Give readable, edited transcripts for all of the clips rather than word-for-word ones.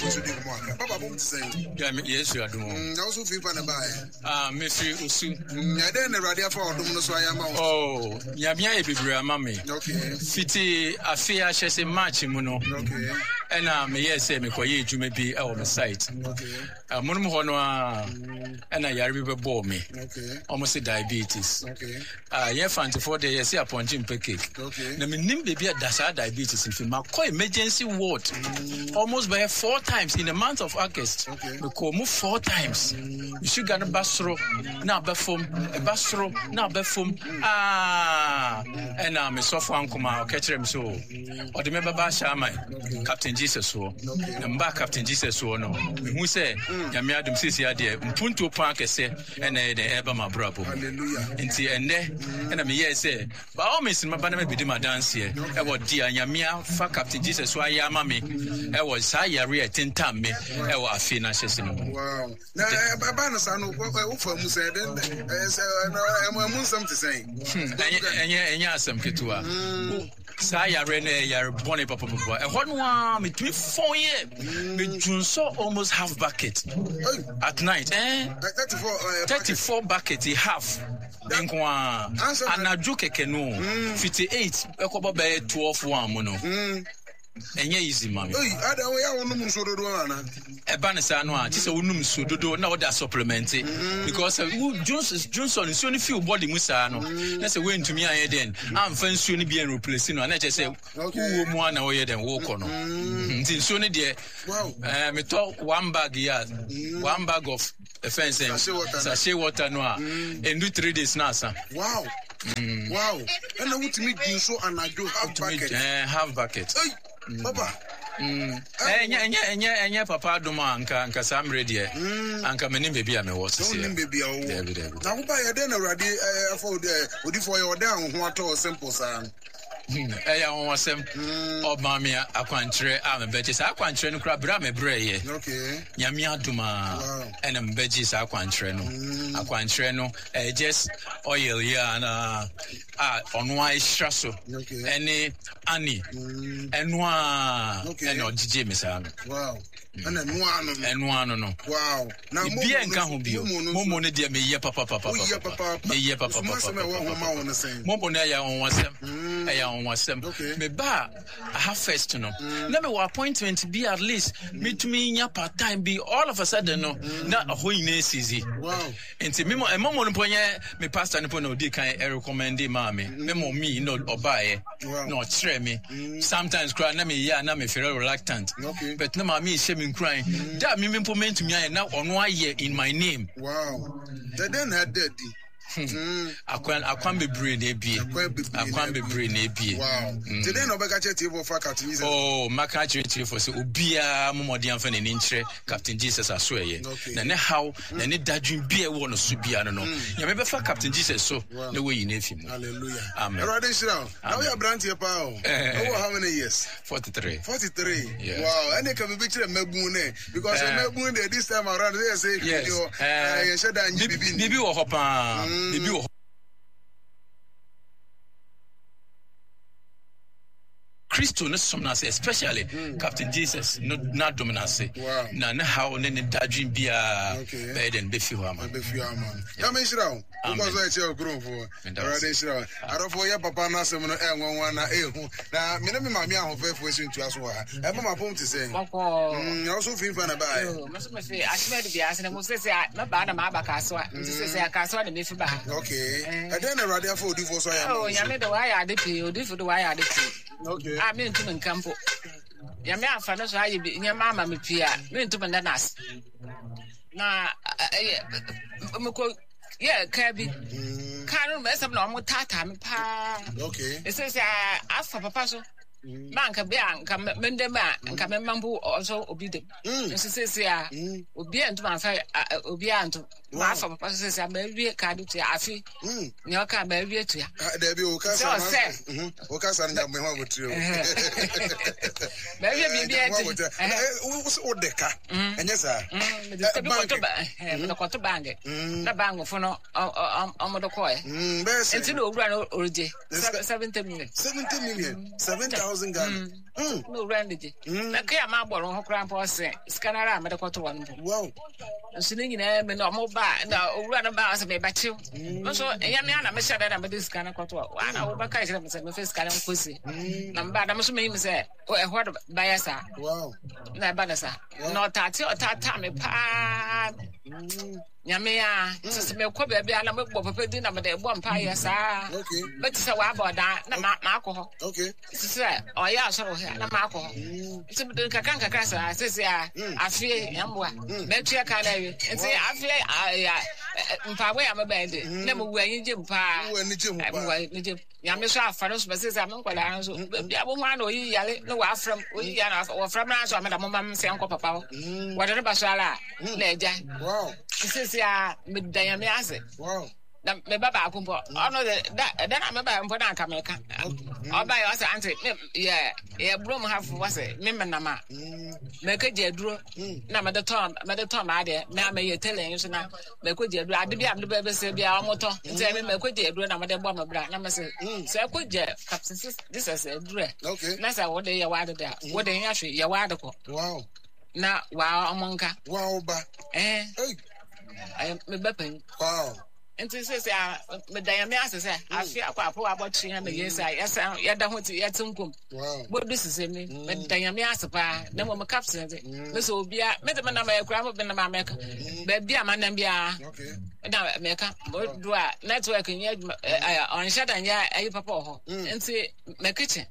odifo nso di nkɔmmɔ akra. Papa bom te sɛn? Ya me Yesu adom o. Mm, na wo so firi pa na baeɛ? Ah, mefiri Osu. Mm, ɛdɛn na Awurade afa ɔdom no so ayɛ ama wo? Oh, Nyame ayɛ bebree ama me. Okay. Fiti afe ahyɛ se March mu no. Okay. Ɛna meyɛɛ sɛ mekɔyɛ adwuma bi ɛwɔ me site. Okay. Amonom hɔ no ara ɛna yare bi bɛbɔɔ me. Okay. Ɔmo se diabetes. Okay. Ah, yɛn Fantefoɔ deɛ yɛse apɔnkye mpɛ cake. Okay. Na menim baabi a da saa diabetes mfi. Makɔ emergency ward almost bɛyɛ four times in the month of August. Okay. Mekɔɔ mu four times. Me sugar no ba soro na aba fam, ɛba soro na aba fam. Ah, ɛna me sɔfo ankoma ɔka kyerɛ me so ɔde me bɛba ahyɛ aman Captain Jesus soɔ. Na mbaa Captain Jesus soɔ no, mehu sɛ Nyame adom seesei adeɛ mpuntuo paa kɛsɛ ɛna ɛyɛ dɛn ɛreba m'abrabɔ mu. Nti ɛnnɛ ɛna meyɛɛ sɛ by all means no mɛba na mabɛdi m'adanseɛ ɛwɔ deɛ Nyame afa Captain Jesus so ayɛ ama me ɛwɔ saa yare a ɛtentam me ɛwɔ afe no ahyɛse no mu. Wow. Na ɛba no saa no wofa mu sɛ ɛmu nsɛm te sɛn? Ɛnyɛ ɛnyɛ asɛm ketewa. Saa yareɛ no yɛ yare bɔne papapapa. Ɛhɔ no ara metumi fɔn yɛ. Medwonsɔ almost half bucket at night. Eh? 34 bucket half nko ara. Anadwo kɛkɛ no. Fiti 8 ɛkɔbɔ bɛyɛ 12 1 mu no. Ɛnyɛ easy ma me. Ei, ada wo yɛ wonom nsuo dodoɔ ana? Ɛba ne saa no a, kyerɛ sɛ wonom nsuo dodoɔ na wode asɔplemɛnte. Mm. Because sɛ wo dwonsɔ nsuo no fi wo body mu saa no, mm. na sɛ woantumi anyɛ dɛn, amfa nsuo no bi anreplace no a, na kyerɛ sɛ wowɔ mu a na woyɛ dɛn, wokɔ no. Mm. Nti nsuo no deɛ, eh, metɔ one bag yi a, one bag of ɛfɛn sɛn, sachet water no a, ɛndu 3 days na asa. Wow. Wow. Ɛna wotumi di nso anadwo half bucket. Eh, half bucket. Hey, papa. Ɛnyɛ ɛnyɛ ɛnyɛ ɛnyɛ papa adom a anka anka saa mmerɛ deɛ anka menim baabi a mewɔ sisi. Wonim baabi a wowɔ. Dabi dabi. Na woba yɛ dɛn na Awurade afa odifoɔ yɛ ɔdɛn a wo ho atɔ simple saa no? Ɛyɛ anwanwasɛm. Ɔmaa me akwankyerɛ a mebɛgye. Saa akwankyerɛ no koraa berɛ a mebrɛeɛ. Nyame adom a ɛna mebɛgye saa akwankyerɛ no. Akwankyerɛ no ɛyɛ just oil yi a na a ɔno a ɛhyira so ɛne ani ɛno a ɛna ɔgyegye me saa no. Wow. Ɛna ɛno ano no. Ɛno ano no. Wow. Na momo Biribiara nka ho bio. Momo no. Momo no deɛ meyɛ papapapa. Woyɛ papaapa. Meyɛ papapapa. Nsumasɛm a ɛwɔ ho ma wo no sɛn? Momo no ɛyɛ anwanwasɛm. Ɛyɛ anwanwasɛm. Okay. Mebaa aha first no, na mewɔ appointment bi at least metumi nya part time bi all of a sudden no na ɛhɔ nyinaa sisi. Wow. Nti me mo momo no mpo nyɛ me pastor no mpo na odi kan ɛrecommende maa me. Me mo mi na ɔbaeɛ Wow. na ɔkyerɛ me. Sometimes koraa na meyɛ a na me feel reluctant. Okay. But na maame hyɛ me nkuran. Da a me mpo mentumi ayɛ na ɔno ayɛ in my name. Wow. Dɛdɛn na ɛda adi. Akwan akwan bebree na ebie. Akwan bebree na ebie. Wow. Nti dɛn na ɔbɛka kyerɛ tiefo fa Captain Jesus? Oh, maka akyerɛ tiefo sɛ obiara mo mmɔden amfa n'ani nkyerɛ Captain Jesus aso ɛyɛ. Okay. Na ne haw na ne dadwen bi a ɛwɔ no so biara no no, Nyame bɛfa Captain Jesus so na wayi no afi mu. Hallelujah. Amen. Awurade nhyira wo. Na woyɛ aberanteɛ paa o. Wowɔ how many years? 43. 43. Yes. Wow. Ɛne ka biribi kyerɛ mmabun nɛ. Because mmabun deɛ this time around sɛ yɛ sɛ Yes. hwɛ hɔ. Yɛnhyɛ da nye biribi nni. Biribi wɔ hɔ paa. Biribi wɔ hɔ. Kristo no som no ase especially Captain Jesus no n'adom no ase Wow. na ne haw ne ne dadwen biara Okay. bɛyɛ dɛn bɛfi hɔ ama no. Ɛbɛfi hɔ ama no. Nyame nhyira wo. Amen. Wokɔ so ɛkyɛ okuromfoɔ. Meda Awurade ase. nhyira wo. Adɔfoɔ yɛ papa no asɛm no ɛnwanwa na ɛhu. Na me ne me maame ahofɛfoɔ si ntua so wɔ ha. Ɛma mapom te sɛn? Bɔkɔɔ. Na wo so fi mfa na baeɛ? Yoo, me nso mefi Akyemadu bea ase na mo sese a mɛbaa na maaba Kasoa. Nti sese a Kasoa na mefi ba ha. Okay. Ɛdɛn na Awurade afa odifoɔ so ayɛ ama Oh, wo so? Nyame de wayɛ ade pii, odifo de wayɛ ade pii. Okay. A mentumi nka mpo. Nyame afa no so ayɛ bi nneɛma ama me pii a mentumi nda no ase. Na ɛyɛ mekɔ yɛ kaa bi. Kaa no mɛsɛm na wɔn taataa me paa. Okay. Ɛsɛ sɛ afa papa so. Ma nka bi a nka mende mu a nka mema mpo ɔsɔ obi dem. Nso sɛsɛ a obi a ntoma nfa obi a nto. Ma afa papa so sɛsɛ a ma awie kaa de tua afi. Nea ɔka ma awie tua. Dabi o kasa Sɛ ɔsɛ. O kasa no nya me ho abotire o. Ma awie biribi a ɛti. Wo de ka. Ɛnyɛ saa. Mede sika bi kɔto ba mede kɔto bank. Na bankfo no ɔmo de kɔɛ. Bɛyɛ sɛ. Nti na owura no ɔregye 70 million. 70 million. 7,000. thousand Ghana. Na owura no gye. Na kea ma abɔ no ho koraa mpo ɔsɛ sika no ara a mede kɔto hɔ no mpo. Wow. Nso ne nyinaa mu no ɔmo ba na owura no ba ɔsɛ mebɛkyew. Nso ɛnyɛ me ara na mehyɛ da na mede sika no kɔto hɔ. Waa na wobɛka kyerɛ me sɛ mefa sika no nkɔsie. Na meba na me nso meyi me sɛ ɛhɔ de bɛyɛ saa. Wow. Na ɛba no saa. Na ɔtaate ɔtaataa me paa. Nyame a, sɛ sɛ mekɔ baabi a na mebɔ papa din na mede bɔ mpaeɛ saa. Mɛte sɛ waba ɔdan na maakɔ hɔ. Te sɛ ɔyɛ asɔre wɔ ha na maakɔ hɔ. Nti mede nkakra nkakra saa sɛsi a afei yɛmmoa. Mɛtua ka na awie. Nti afei mpaebɔ yɛ a mebɛn de na mewɔ anigye mu paa. Mewɔ anigye mu. Nyame so afa no so bɛsɛ sɛ me nkwadaa no so baabi a wohu ana oyi yare na wɔafrɛ m oyi yare na wɔfrɛ m na so ameda mo ma m sɛ nkɔ papa hɔ wɔde no ba so ara a na agya sisi a meda Nyame ase na me ba baako mpo ɔno de da ɛda na meba mpo na anka meka ɔba yɛ ɔsɛ ante me yɛ yɛ burom hafo wɔsɛ me menam a mɛkɛ gye aduro na mede tɔn mede tɔn m'adeɛ me a mɛyɛ tele nso na mɛkɔ gye aduro ade bi a mede bɛbɛsɛ bi a wɔtɔ nti ɛmi mɛkɔ gye aduro na mede bɔ me bra na mɛsɛ mm. sɛ ɛkɔ gye Captain Jesus aduro ɛ na sɛ wode yɛ w'ade de a mm. wode nyɛ hwee yɛ w'ade kɔ na waa ɔmo nka ba ɛɛ ɛyɛ me ba panyin nti sɛ a meda nyame ase sɛ mm. afe akɔ apɔ abɔkye ha meyɛ sɛ yɛsan yɛda ho te yɛte nkom Bodu sese mi, mm. meda nyame ase paa na mmom captain de mm. me sɛ obia mede me nam akura mo benam a mɛka mm. baabi a manam biara na mɛka modu a network nyɛ adwuma ɔnhyɛ da nyɛ ayi papa wɔ hɔ nti mɛ kitchen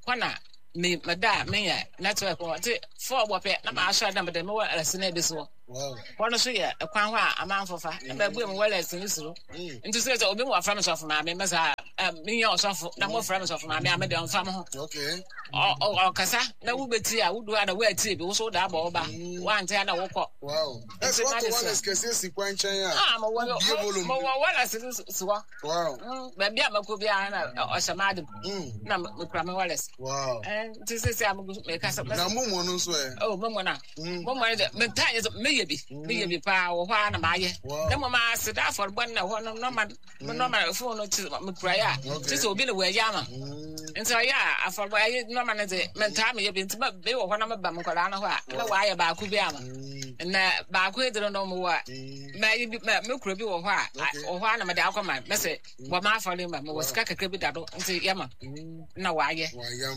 kɔ na me meda a menyɛ network wɔ nti fɔɔ bɔ pɛ na maasɔre na mede me wɔ ɛsɛ na ebi so hɔ Hɔ no so yɛ kwan hɔ a amanfo fa na mabue mo wallet no suro. Nti sɛ sɛ obi mu wafrɛ me sɔfo maame mɛ saa menyɛ ɔsɔfo na mofrɛ me sɔfo maame a mede ɔmfa mo ho. Ɔkasa na wobɛtie a wodu a na woatie bi wo so woda abɔ wo ba woante a na wokɔ. Nti na de sɛ kɛseɛ si kwan nkyɛn a mowɔ wallet no si hɔ. Baabi a mɛkɔ biara na ɔhyɛ m'ade mu na mekura me wallet. Nti sɛ sɛ mekasa. Na mommɔ no nso ɛ? Oh, mommɔ no a. Mo mma de mentaa nyɛ sɛ meyɛ bi meyɛ bi paa wɔ hɔ ara na mayɛ na mmom aseda afɔrebɔ no na ɛhɔ no nɔma me nɔma fon no te mekuraeɛ a te sɛ obi na wɔayi ama nti ɔyɛ a afɔrebɔ ɛyɛ nɔma no de mentaa meyɛ bi nti meyɛ wɔ hɔ na meba me nkwadaa no hɔ a na wɔayɛ baako bi ama na baako edere no mowɔ a mayi bi me kura bi wɔ hɔ a wɔ hɔ a na mede akɔma mɛsɛ bɔ m'afɔre ma mewɔ sika kakra bi da do nti yɛma na wayɛ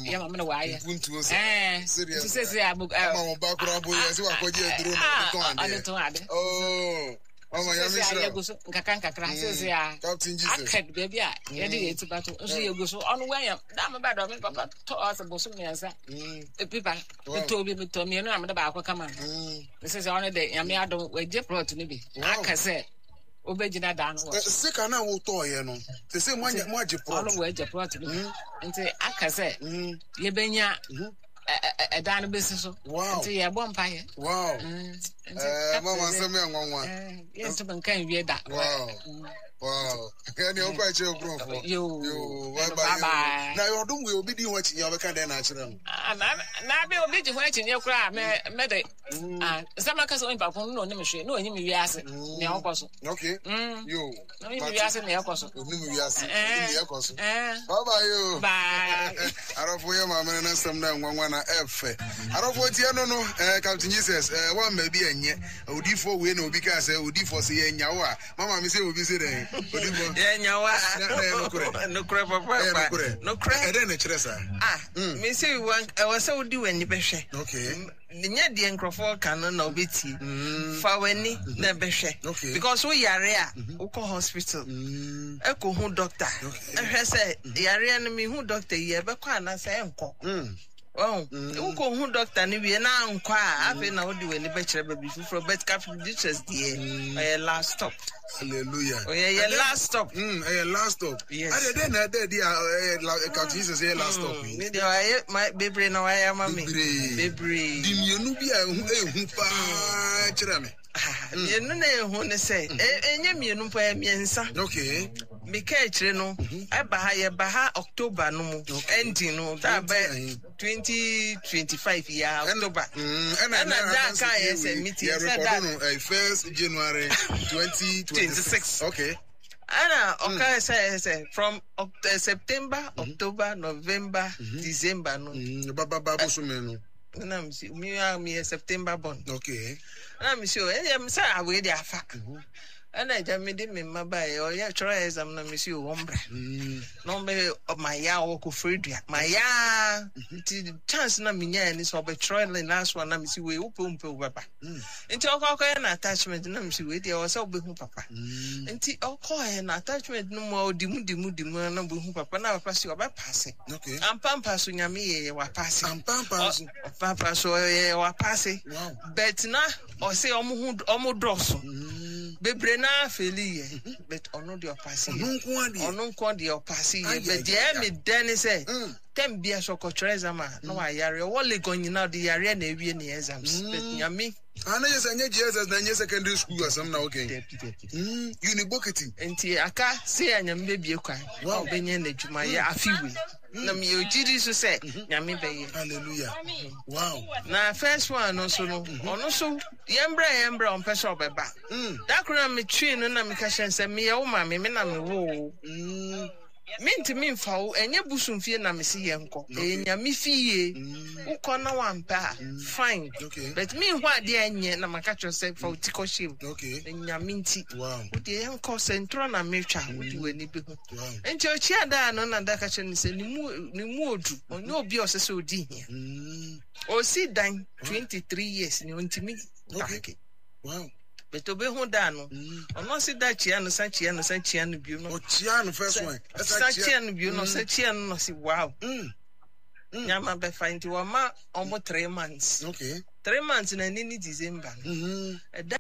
yɛma me na wayɛ ɛɛ nti sɛsɛ a ama wɔn ba koraa bo yɛ sɛ wakɔgye aduro na ɔde tɔn adeɛ ɔde tɔn ade oh mama yɛ mi sira yɛgu so nkakra nkakra sɛsɛ a Captain Jesus aka baabi a yɛde yɛ ti ba to nso yɛgu so ɔno wanya daa me ba dɔ me papa tɔ ɔsɛ bosom mmiɛnsa epipa metɔ bi metɔ mmienu na mede baako kama no sɛsɛ ɔno de nyame adom wagye plot no bi aka sɛ wobɛgyina dan no wɔ so. Sika no a wotɔɔyɛ no, te sɛ moagye plot. Ɔno wɔagye plot no bi. Hmm. Nti aka sɛ hmm. yɛbɛnya hmm. ɛdan no bɛsi so. Nti yɛbɔ mpaeɛ. Wow. Nti mama nsɛm yɛ nwanwa. Yɛntumi nka nwie da. Wow. Wow. Ɛne ɔkɔ akyerɛ nkurɔfoɔ. Yoo. Bye bye. Na yɛ ɔdom wei obi di ho akyinnye a ɔbɛka dɛn na akyerɛ no? Ah, na bi obi gye ho akyinnye koraa mɛ mɛ de. Mm. Ah, sɛ maka sɛ onipa ko no na onim hwee na onyim wiase mm. nea ɔkɔ so. Okay. Mm. Yo. Na onyim wiase nea ɛkɔ so. Onim wiase eh. nea ɛkɔ so. Eh. Bye bye yo. Bye. Arɔfo yɛ maame no n'asɛm na nwanwa na ɛfɛ. Arɔfo tie no no, eh, Captain Jesus, eh, wamma bi ɛnyɛ. Odifoɔ wei na obi kaa sɛ odifoɔ sɛ yɛ nyawo a, mama me sɛ obi sɛ dɛn? Odifoɔ. Yɛ nyawo a. Na ɛyɛ nokorɛ. Nokorɛ papa. Ɛyɛ nokorɛ. Nokorɛ. Ɛdɛn na ɛkyerɛ saa? Ah, mm. me sɛ ɛwɔ sɛ wodi w'ani bɛhwɛ. Okay. Nyɛ deɛ nkurɔfoɔ reka no na wobɛtie. Mm. Fa w'ani mm-hmm. na bɛhwɛ. Because wo yare a, mm-hmm. wokɔ hospital. Mm. Ɛkɔhu doctor. Ɛhwɛ sɛ mm-hmm. yareɛ no mehu doctor yi ɛbɛkɔ anaasɛ ɛnkɔ. Mm. Oh, wokɔhu doctor no wie na ankɔ a afei na wode w'ani bɛkyerɛ baabi foforɔ but Captain Jesus deɛ ɔyɛ last stop. Hallelujah. Ɔyɛ yɛ last stop. Mm, ɛyɛ last stop. Yes. Ɛdɛ dɛ na ɛdɛ di a ɛyɛ Captain Jesus ɛyɛ last stop yi. Ne deɛ ɔyɛ ma bebree na wayɛ ama mi. Bebree. Bebree. Di mmienu bi a ehu ehu paa kyerɛ me. Mmienu na ehu ne sɛ ɛnyɛ mmienu mpo ɛyɛ mmiɛnsa. Okay. Meka akyire no ɛba ha yɛba ha October no mu ending no that bɛ. 2025 yi ara October. Ɛna da ka yɛ sɛ meeting sɛ da. Yɛ no first January 2026. Okay. Ɛna ɔka sɛ sɛ from September, October, November, December no. Ba ba ba bosome no. Na mi si mi a mi yɛ September born. Okay. Na mi si o ɛyɛ mi sɛ awei de afa. Ɛna agya mi de mi mma ba yɛ ɔyɛ twerɛ exam na mi si o wɔn bra. Na wɔn bɛ ma ya ɔwɔ kofori dua ma ya nti chance na mi nya yɛ ni sɛ ɔbɛ twerɛ ne last one na mi si wei wopɛ wompɛ wobɛba. Nti ɔkɔ akɔyɛ na attachment na mi si wei deɛ ɔwɔ sɛ ɔbɛhu papa. Nti ɔkɔɛ na attachment no mu a ɔdi mu di mu di mu na ɔbɛhu papa na papa si ɔbɛ paase. Okay. Ampampa so nyame yɛ yɛ wapaase. Ampampa so. Ampampa so yɛ yɛ wapaase. Wow. But na ɔse ɔmo ho ɔmo dɔɔso. Bebree na afeeli yɛ. But ɔno deɛ ɔpaase yɛ. Ɔno nko adeɛ. Ɔno nko deɛ ɔpaase yɛ. Ay, But ay, deɛ ay, ɛmi dɛ ne sɛ. Tɛm bia sɛ ɔkɔtwerɛ exam a na wayare. Ɔwɔ Legon nyinaa ɔde yareɛ na ewie ne exams. But nyame. Ah, na yɛ sɛ nyɛ JSS na nyɛ secondary school asɛm na okay. Dabi dabi. Unibokiti. Nti aka se a nyame bɛbie kwan. Wow. Ɔbɛnyɛ n'adwuma yɛ afi wei. Na meyɛ ogyidi so sɛ nyame bɛyɛ. Hallelujah. Wow. Na first one no nso no, ɔno nso yɛmbrɛ yɛmbrɛ ɔmpɛ sɛ ɔbɛba. Da koro na metwee no na meka kyerɛ no sɛ meyɛ wo maame, me na mewoo wo. Mentumi mfa wo, ɛnyɛ bosom fie na mese yɛnkɔ, ɛyɛ nyame fie. Wokɔ na wampɛ a, fine. Okay. But menhu adeɛ a ɛnyɛ na maka kyerɛ sɛ fa wo ti kɔhyɛ mu. Okay. Na nyame nti. Wow. Wodeɛ yɛnkɔ sɛ ntorɔ na metwa, wode w'ani bɛhu. Wow. Nti ɔkyia daa no na da ka kyerɛ no sɛ ne mu ne mu odu, ɔnyɛ obi a ɔsɛ sɛ ɔdi hia. Ɔsi dan 23 years ni ɔntumi Okay. paake. Wow. But obehu da no, ɔno ɔsi da kyia no, san kyia no, san kyia no bio no. Ɔkyia no first one. San kyia no bio no, san kyia no na ɔsi wow. Nyama bɛfa nti wɔma ɔmo 3 months. Okay. 3 months na ɛne ne December no. Ɛda